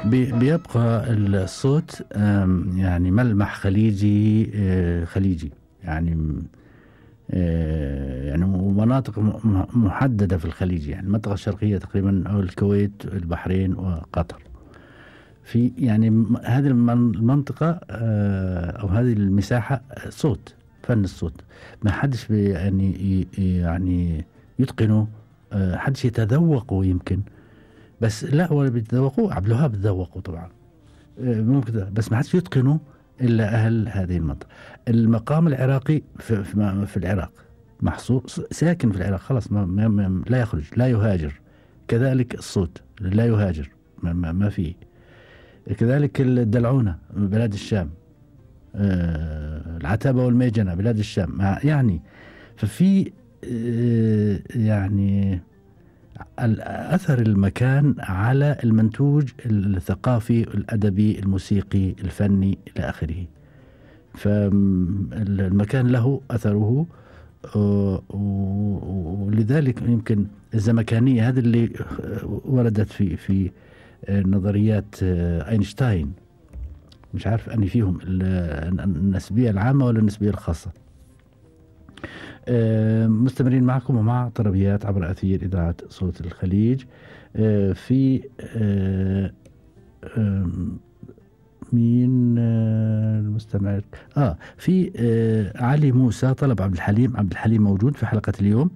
بيبقى الصوت يعني ملمح خليجي خليجي يعني يعني ومناطق محددة في الخليج، يعني المنطقة الشرقية تقريبا أو الكويت البحرين وقطر. في يعني هذه المنطقة أو هذه المساحة صوت، فن الصوت ما حدش يعني يتقنه، حدش يتذوقه يمكن، بس لا ولا بيتذوقوه. عبد الوهاب تذوقوا طبعا ممكن، بس ما حدش يتقنه إلا أهل هذه المنطقة. المقام العراقي في العراق محصور، ساكن في العراق خلاص، لا يخرج لا يهاجر. كذلك الصوت لا يهاجر، ما فيه. كذلك الدلعونة بلاد الشام، العتبة والميجنة بلاد الشام، يعني ففي يعني أثر المكان على المنتوج الثقافي الأدبي الموسيقي الفني إلى آخره. فالمكان له أثره، ولذلك يمكن الزمكانية هذا اللي وردت في نظريات أينشتاين، مش عارف أني فيهم النسبية العامة ولا النسبية الخاصة. مستمرين معكم ومع طربيات عبر أثير إذاعة صوت الخليج. في مين المستمع؟ في علي موسى طلب عبد الحليم موجود في حلقة اليوم.